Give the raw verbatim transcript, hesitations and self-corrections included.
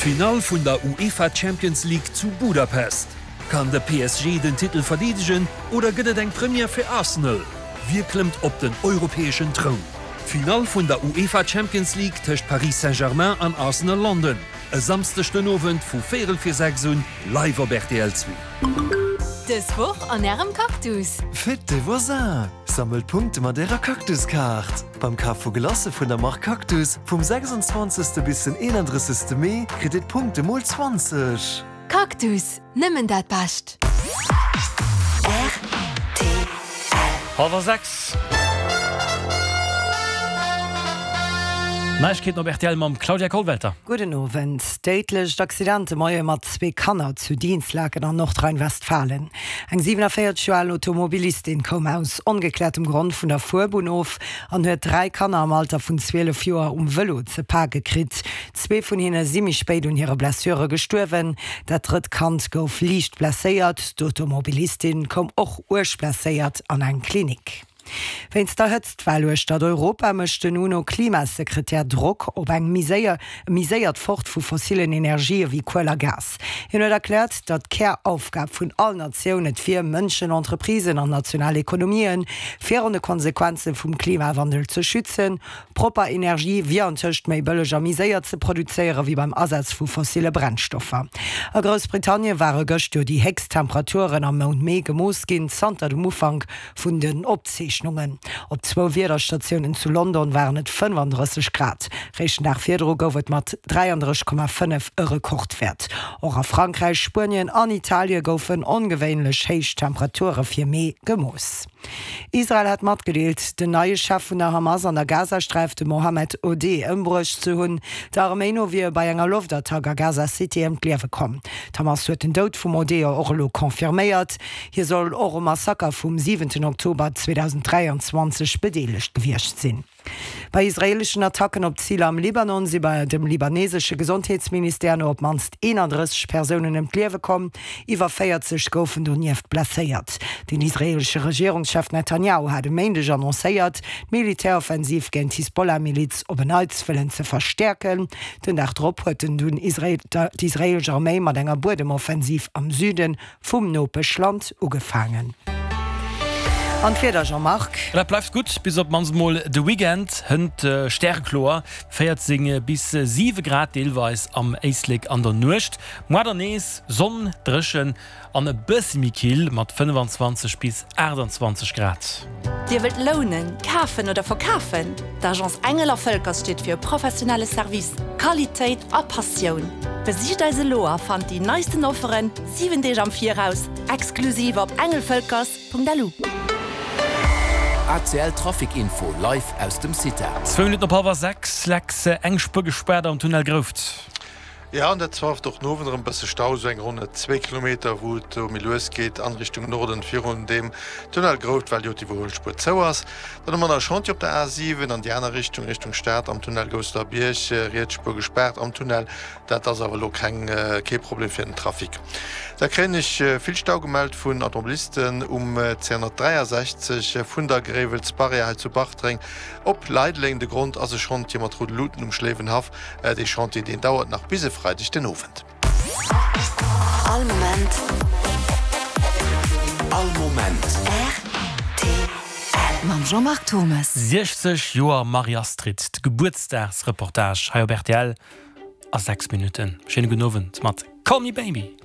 D'Finall vun der UEFA Champions League zu Budapest. Kann de P S G den Titel verdeedegen oder gëtt et eng Première fir Arsenal? Wie klëmmt op den europäeschen Troun? D'Finall vun der UEFA Champions League tëscht Paris Saint-Germain an Arsenal London. E Samschdeg den Owend vu véierel vir sechs un, live op R T L zwee. Dës Woch an ärem Cactus. Fête des voisins! Sammelt Punkte mat ärer Cactus-Kaart. Beim Kaf vu Glacë vun der Mark Cactus vum sechsundzwanzegste bis den eenandrëssegste Mee kritt dir d'Punkte mol zwanzeg. Cactus, nëmmen dat Bescht. Hallwer sechs. Neiegkeeten op R T L mam Claudia Kollwelter. Gudden Owend. Déidlecht Accident de Moie mat zwee Kanner zu Dinslaken an Nordrhein-Westfalen. Eng siewenenvéierzeg Joer al Automobilistin koum aus ongekläertem Grond vun der Fuerbunn of an huet dräi Kanner am Alter vun zwielef Joer um Vëlo ze pake kritt. Zwee vun hinne si méi spéit un hire Blessure gestuerwen. Dat drëtt Kand gouf liicht blesséiert. D'Automobilistin koum och uerg blesséiert an eng Klinik. Wéinst der Hëtztwell uechter Europa mécht den UNO-Klimasekretär Drock op eng méi séier méi séiert Fort vu fossillen Energië wéi Kuel a Gas. Hien huet erkläert, datt d'Käraufgab vun all Natioun et wier, Mënschen, Entreprisen an national Ekonomien virun de Konsequenze vum Klimawandel ze schützen. Propper Energie wier antëscht méi bëlleg a méi séier ze produzéiere wéi beim Asaz vu fossille Brennstoffer. A Groussbritannien ware gëscht jo déi héchst Temperaturen am Mount Mee gemooss ginn, zanter dem Ufank vun den Opzeechnungen. Op zwou Wiederstatiounen zu London waren et fënnefandrësseg Grad. Réischt den Dag virdru gouf et mat dräiandrësseg Komma fënnef e Rekordwäert. Och a Frankräich, Spuenien an Italie goufen ongewéinlech héich Temperature fir Mee gemooss. Israel hat matgedeelt, den neie Chef vun der Hamas an der Gazasträif, de Mohammed Odeh, ëmbruecht ze hunn. Der Arméi no wier e bei enger Loftattack a Gaza City ëm d'Liewe komm. D'Hamas huet den Doud vum Odeh och elo confirméiert. Hie soll och um Massaker vum siwenten Oktober zweedausend dräianzwanzeg bedeelegt gewiescht sinn. Bei israeeleschen Attacken op Ziler am Libanon si bei dem libanesesche Gesondheetsministère no op d'mannst eenandrësseg Persounen ëm d'Liewe komm, iwwer véierzeg goufen donieft blesséiert. Den israeelesche Regierungschef Netanjahu hat e Méindeg annoncéiert, d'Militäroffensiv géint d'Hisbollah-Miliz op en Neits wëllen ze verstäerken. Den Dag drop huet den dunn d'israeelesch Arméi mat enger Buedemoffensiv am Süde vum Nopeschland ugefaangen. An d'Wieder, Jean-Marc? Dat bleift gutt bis op d'mannst mol de Weekend. Hënt stärekloer, véierzéng bis siwe Grad deelweis am Éislek an der Nuecht. Muer dann nees Sonn, dréchen an e bëssi méi kill mat fënnefenzwanzeg bis aachtanzwanzeg Grad. Dir wëllt lounen, kafen oder verkafen? D'Agence Engel a Völkers steet fir professionelle Service, Qualitéit a Passioun. Besicht eis elo a fannt déi neisten Offeren siwen Deeg am Viraus, exklusiv op engelvölkers Punkt L U. A C L Trafic Info live aus dem CITA. Zwou Minutten op hallwer sechs, Lex, eng Spuer gespaart am Tunnel Grouft. Ja, an dat zwar och no e bësse Stau, sou eng ronn zwee Kilometer, wou et méi lues geet an Richtung Norden virun dem Tunnel Grouft, well jo d'Iwwerhuelspuer zou ass. Dann hu mer nach Chantier op der A siwen an déi aner Richtung, Richtung Stad am Tunnel Gousselerbierg, riets Spuer gespaart am Tunnel. Dat ass awer lo keng kee Problem fir den Trafic. Da kréien ech vill Stau gemellt vun Automobilisten um C honnertdräiasechzeg vun der Gréiwelsbarrière hei zu Bartreng op Leideleng. De Grond ass e Chantier mat roude Luuten um Schléiwenhaff. Dee Chantier, deen dauert nach bis e Freideg den Owend. All Moment. All Moment. R T L. Mam Jean-Marc Thomas. siechzeg Joer Marie-Astrid, de Gebuertsdagsreportage hei op R T L a sechs Minutten. Schéine gudden Owend mat Call Me Baby.